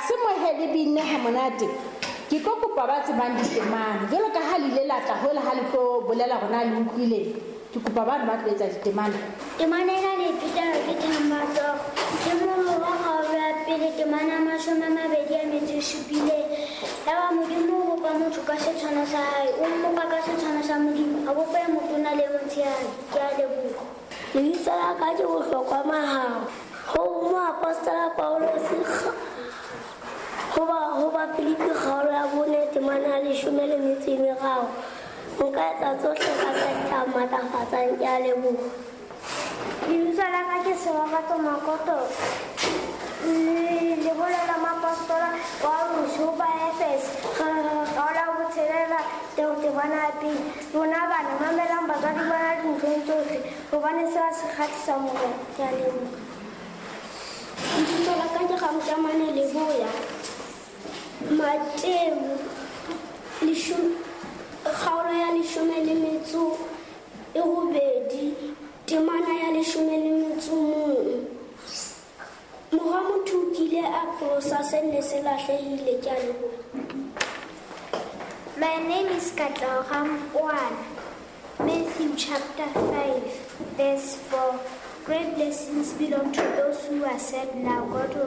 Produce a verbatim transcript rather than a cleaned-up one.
se mohe le binne ha monate. Ke tlo kopa ba tsebang ditemana. Jwalo ka ha le ile la tla hola ha le tlo bolela hore na le utlwile. Ke kopa bana ba tlo etsa ditemana. Temana ena le iphetela ke Thembatoro. Ke mollo wa kgaolo ya pele temana ya mashome a mabedi a metso e supileng. Yaba Modimo o bopa motho ka setshwano sa hae, o mmopa ka setshwano sa Modimo, a bopa e motona le e motshehadi. Ke a leboha. Lebitso la ka ke Bohlokwa Mahao. Ho moapostola Paulus ho ba ho ba Filipi kgaolo ya bone temana ya leshome le metso e meraro. Nka etsa tsohle ka Kreste a matlafatsang. Ke a leboha. Lebitso la ka ke Sebabatso Makoto. Le bolela moapostola Paulus ho ba Efese kgaolo ya botshelela temana ya pele. Lona bana mamelang batswadi ba lona dinthong tsohle hobane sena se kgahlisa Morena. Ke a leboha. Lebitso la ka ke Ramtamane Leboya. Mateu kgaolo ya leshome le metso e robedi temana ya leshome le metso mong. Mora motho o kile a pholosa se ne se lahlehile. Ke a leboha. My name is Katleho Rampoana. Matthew chapter five, verse four. Great blessings belong to those who are sad now. God will